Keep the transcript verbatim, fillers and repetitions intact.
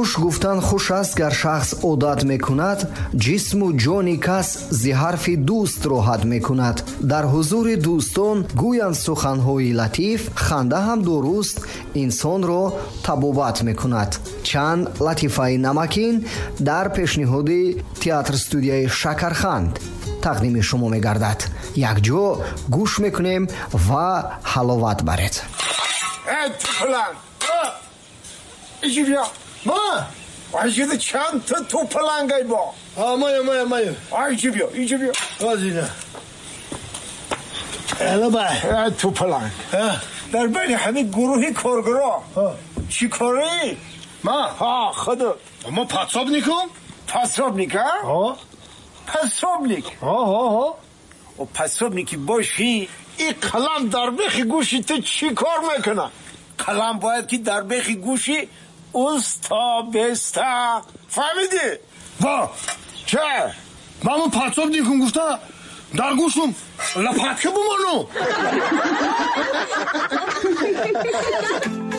Хуш гуфтан хуш аст, гар шахс одат мекунад, ҷисму ҷони кас зи ҳарфи дӯст роҳат мекунад. Дар ҳузури дӯстон гӯянд суханҳои латиф, ханда ҳам дуруст инсонро табобат мекунад. Чанд латифаи намакин дар пешниҳоди театр-студияи Шакарханд тақдими шумо мегардад. Якҷо гӯш мекунем ва ҳаловат баред. Э, тупаланг! Иҷи биё! Ма? Айҷида чанд та тупалангай бо? А, мая, мая, мая. Айҷи биё, иҷи биё. Озина. Эла бай. Э, тупаланг. Э? Дар байни ҳамин гурӯҳи коргаро чӣ корӣ? Ма? Ҳа, худат. Ма подсобникум? Подсобник, а? Ҳо. Подсобник. Ҳо, ҳо, ҳо. О, подсобники бошӣ, ин қалам дар бехи гӯши ту чӣ кор мекунад? Қалам бояд ки дар бехи гӯши уста беста. Фаҳмидӣ? Во! Ча? Ман подсобникум гуфта, дар гӯшум лопатка бумону.